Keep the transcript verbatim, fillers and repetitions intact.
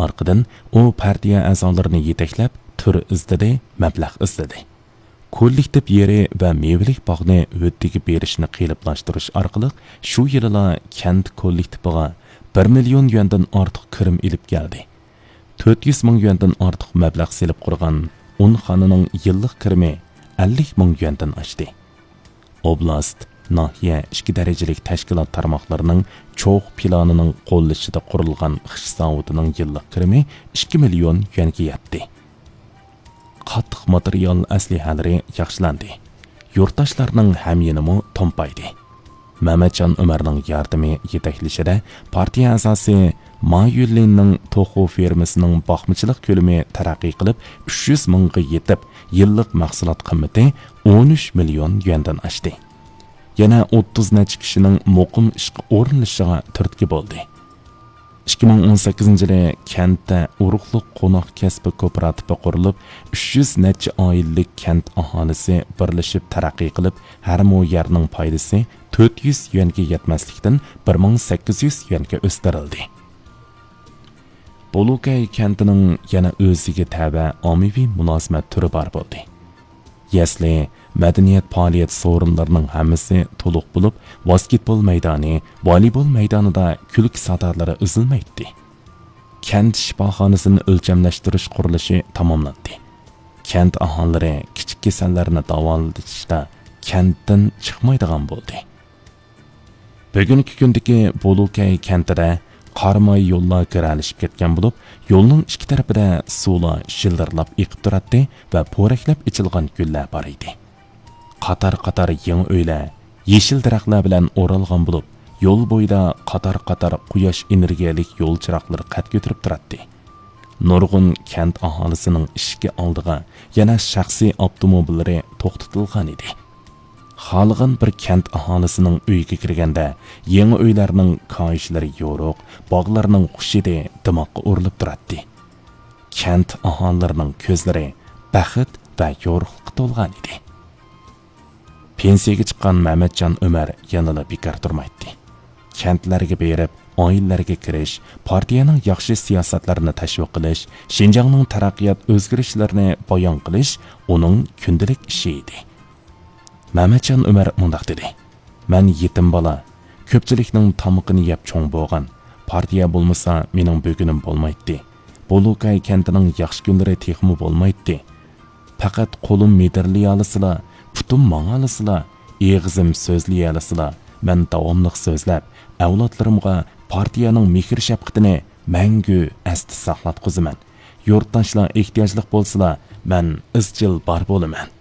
ئارقىدىن ئۇ پارتىيە ئەزالىرىنى يېتەكلەپ، تۈر ئىزدىدى، مەبلەغ ئىزدىدى. كوللېكتىپ يېرى ۋە مېۋىلىك باغنى ھۆددىگە بېرىشنى قېلىپلاشتۇرۇش ئارقىلىق شۇ يىلىلا كەنت كوللېكتىپىغا بىر مىليون يۈەندىن ئارتۇق كىرىم ئېلىپ كەلدى. تۆت يۈز مىڭ يۈەندىن ئارتۇق مەبلەغ سېلىپ قۇرغان ئون خانىنىڭ يىللىق كىرىمى ئەللىك مىڭ يۈەندىن ئاشتى. ئوبلاست، ناھىيە ئىككى دەرىجىلىك تەشكىلات تارماقلىرىنىڭ چوغ پىلانىنىڭ قوللىشىدا قۇرۇلغان خىش زاۋۇتىنىڭ يىللىق كىرىمى ئىككى مىليون يۈەنگە يەتتى. قاتتىق ماتېرىيال ئەسلىھەلىرى ياخشىلاندى. يۇرتداشلارنىڭ ھەميېنىمۇ تومپايدى. مەمەتجان ئۆمەرنىڭ ياردىمى يېتەكلىشىدە پارتىيە ئەزاسى ما يۈنلىننىڭ توخۇ فېرمىسىنىڭ باقمىچىلىق كۆلىمى تەرەققىي قىلىپ، ئۈچ يۈز مىڭغا يېتىپ، يىللىق مەھسۇلات قىممىتى ئون ئۈچ مىليون يۈەندىن ئاشتى. يەنە ئوتتۇز نەچچە كىشىنىڭ مۇقىم ئىشقا ئورۇنلىشىشىغا تۈرتكە بولدى. ئىككى مىڭ ئون سەككىزىنچى يىلى كەنتتە ئۇرۇقلۇق قوناق كەسپى كوپىراتىپى قۇرۇلۇپ، ئۈچ يۈز نەچچە ئائىلىلىك كەنت ئاھالىسى بىرلىشىپ تەرەققىي قىلىپ، ھەر مو يەرنىڭ پايدىسى تۆت يۈز يۈەنگە يەتمەسلىكتىن، بىر مىڭ سەككىز يۈز يۈەنگە ئۆستۈرۈلدى. بولۇكەي كەنتىنىڭ يەنە ئۆزىگە تەۋە ئاممىۋى مۇلازىمەت تۈرى بار بولدى. يەسلى، مەدەنىيەت پائالىيەت سورۇنلىرىنىڭ ھەممىسى تولۇق بولۇپ، ۋاسكېتبول مەيدانى، ۋالىبول مەيدانىدا كۈلكە سادالىرى ئۈزۈلمەيتتى. كەنت شىپاخانىسىنى ئۆلچەملەشتۈرۈش قۇرۇلۇشى تاماملاندى. كەنت ئاھالىلىرى كىچىك كېسەللەرنى داۋالىتىشتا كەنتتىن چىقمايدىغان بولدى. بۈگۈنكى كۈندىكى بولۇكەي كەنتىدە قار ماي يوللار گىرەلىشىپ كەتكەن بولۇپ، يولنىڭ ئىككى تەرىپىدە سۇلار شىلدىرلاپ ئېقىپ تۇراتتى ۋە پورەكلەپ ئېچىلغان گۈللەر بار ئىدى. قاتار-قاتار يېڭى ئۆيلەر يېشىل دەرەخلەر بىلەن ئورالغان بولۇپ، يول بويىدا قاتار-قاتار قۇياش ئېنېرگىيەلىك يول چىراغلىرى قەد كۆتۈرۈپ تۇراتتى. نۇرغۇن كەنت ئاھالىسىنىڭ ئىشىكى ئالدىغا يەنە شەخسىي ئاپتوموبىللىرى توختىتىلغان ئىدى. خالىغان بىر كەنت ئاھالىسىنىڭ ئۆيىگە كىرگەندە، يېڭى ئۆيلەرنىڭ كاھىشلىرى يورۇق، باغلارنىڭ خۇش ھىدى دىماققا ئۇرۇلۇپ تۇراتتى. كەنت ئاھالىلىرىنىڭ كۆزلىرى بەخت ۋە يورۇقلۇققا تولغان ئىدى. پېنسىيەگە چىققان مەمەتجان ئۆمەر يەنىلا بىكار تۇرمايتتى. كەنتلەرگە بېرىپ، ئائىلىلەرگە كىرىش، پارتىيەنىڭ ياخشى سىياسەتلىرىنى تەشۋىق قىلىش، شىنجاڭنىڭ تەرەققىيات ئۆزگىرىشلىرىنى بايان قىلىش ئۇنىڭ كۈندىلىك ئىشى ئىدى. مەمەتجان ئۆمەر مۇنداق دېدى: «مەن يېتىم بالا، كۆپچىلىكنىڭ تامىقىنى يەپ چوڭ بولغان. پارتىيە بولمىسا، مېنىڭ بۈگۈنۈم بولمايتتى. بولۇكاي كەنتىنىڭ ياخشى كۈنلىرى تېخىمۇ بولمايتتى. پەقەت قولۇم مىدىرلىيالىسىلا، پۇتۇم ماڭالىسىلا، ئېغىزىم سۆزلىيەلىسىلا، مەن داۋاملىق سۆزلەپ، ئەۋلادلىرىمغا پارتىيەنىڭ مېھىر-شەپقىتىنى مەڭگۈ ئەستە ساقلاتقۇزىمەن. يۇرتداشلار ئېھتىياجلىق بولسىلا، مەن ئىزچىل بار بولىمەن.»